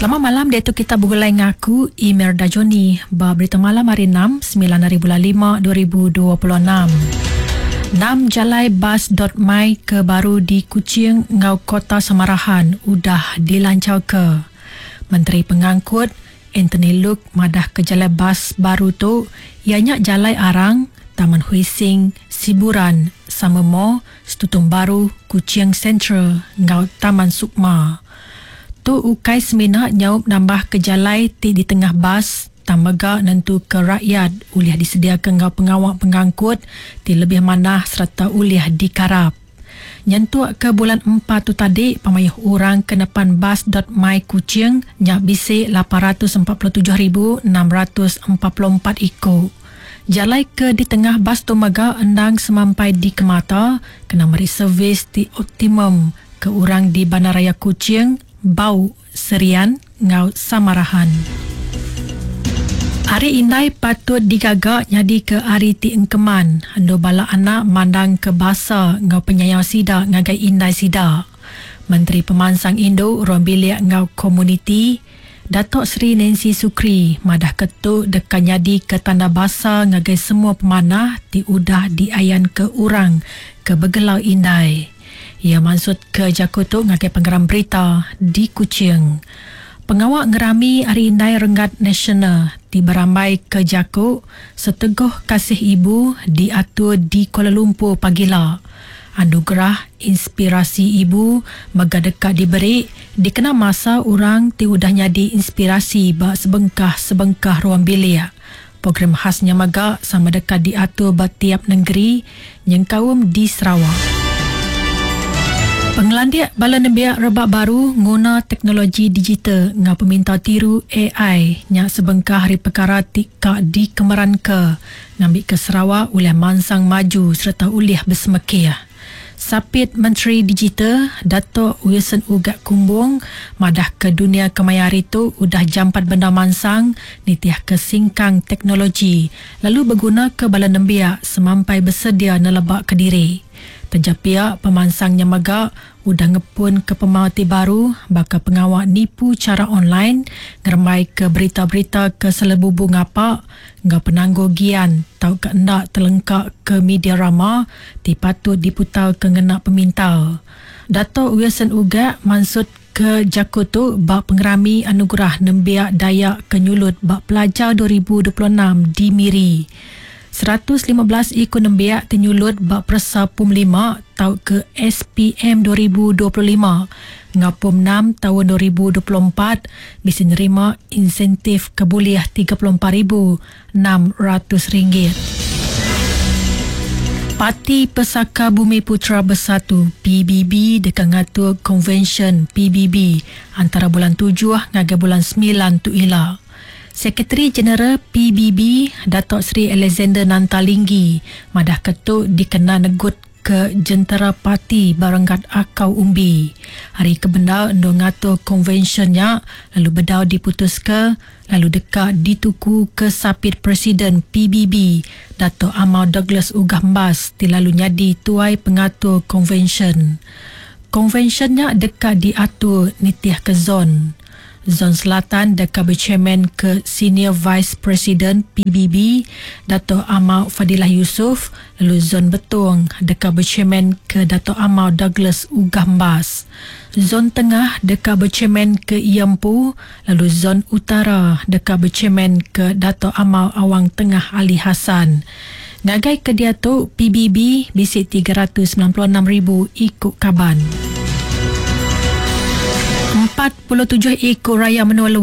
Selamat malam diatu kita begulai ngaku Imelda Johnny ba berita malam hari 6 9 hari bulan 5 2026. Enam jalai bas.my ke baru di Kuching enggau Kota Samarahan udah dilancarka. Menteri Pengangkut Anthony Luke madah ke jalai bas baru tu iya nya Jalai Arang, Taman Hui Sing, Siburan, Summer Mall, Stutong Baru, Kuching Sentral enggau Taman Sukma. Tu ukai semina nyaup nambahka jalai ti ditengah bas tang mega nentuka rakyat ulih disediaka enggau pengawa pengangkut ti lebih manah sereta ulih dikarap. Nyentuk ke bulan Empat tu tadi, pemayuh orang ke nepan bas dot my Kuching nya bisi 847,644 iku. Jalai ke ditengah bas tu mega endang semampai dikemata kena meri servis ti optimum ke orang di Bandaraya Kuching, Bau, Serian enggau Samarahan. Hari Indai patut digaga nyadika hari ti engkeman endur bala anak mandangka basa enggau penyayau sida ngagai indai sida. Menteri Pemansang Indu, Ruang Bilik enggau Komuniti, Datuk Seri Nancy Sukri madahka tu deka nyadika tanda basa ngagai semua pemanah ti udah diayanka orang ke begelar indai. Iya mansutka jaku tu ngagai pengeram berita di Kuching. Pengawa ngerami Hari Indai Renggat Nasional ti berambaika jaku Seteguh Kasih Ibu diatur di Kuala Lumpur pagila. Anugerah Inspirasi Ibu mega deka diberi dikena masa orang ti udah nyadi inspirasi ba sebengkah-sebengkah ruang bilik. Program khas nya mega sama deka diatur ba tiap nengeri nyengkaum di Sarawak. Pengelandik bala nembiak rebak baru nguna teknologi digital enggau pemintar tiru ai nya sebengkah ari pekara ti ka dikemeranka ngambika Sarawak ulih mansang maju sereta ulih besemekih. Sapit Menteri Digital, Datuk Wilson Ugak Kumbong madahka dunya kemaya hari tu udah jampat bendar mansang nitihka singkang teknologi lalu begunaka bala nembiak semampai besedia nelebaka diri. Taja pia, pemansang nya mega udah ngepunka pemau ti baru baka pengawa nipu chara online, ngerembaika berita-berita ke selebubu ngapa enggau penanggul gian tauka enda telengka ke media rama ti patut diputarka ngena pemintar. Datuk Wilson Ugak mansutka jaku tu ba Pengerami Anugerah Nembiak Dayak Ke Nyulut ba Pelajar 2026 di Miri. 115 iku nembiak ti nyulut ba peresa Pom lima tauka SPM 2025 enggau Pom enam taun 2024 bisi nerima insentif ke bulih 34 ribu ringgit. Parti Pesaka Bumiputera Bersatu, PBB, deka ngatur Konvensyen PBB antara bulan tujuh ngagai bulan semilan tu ila. Sekretari Jeneral PBB, Datuk Seri Alexander Nanta Linggi madahka tu dikena negutka jentera parti ba renggat akau umbi. Hari ke bendar endur ngatur konvensyen nya lalu bedau diputuska lalu deka ditukuka Sapit Presiden PBB, Datuk Amar Douglas Uggah Embas ti lalu nyadi tuai pengatur konvensyen. Konvensyen nya deka diatur nitihka zon. Zon Selatan deka bechairman ke Senior Vice President PBB, Datuk Amar Fadillah Yusof lalu Zon Betong deka bechairman ke Datuk Amar Douglas Uggah Embas. Zon Tengah deka bechairman ke iya empu lalu Zon Utara deka bechairman ke Datuk Amar Awang Tengah Ali Hasan. Ngagai ke diatu, PBB bisi 396,000 iku kaban. 47 iku raya menua luar.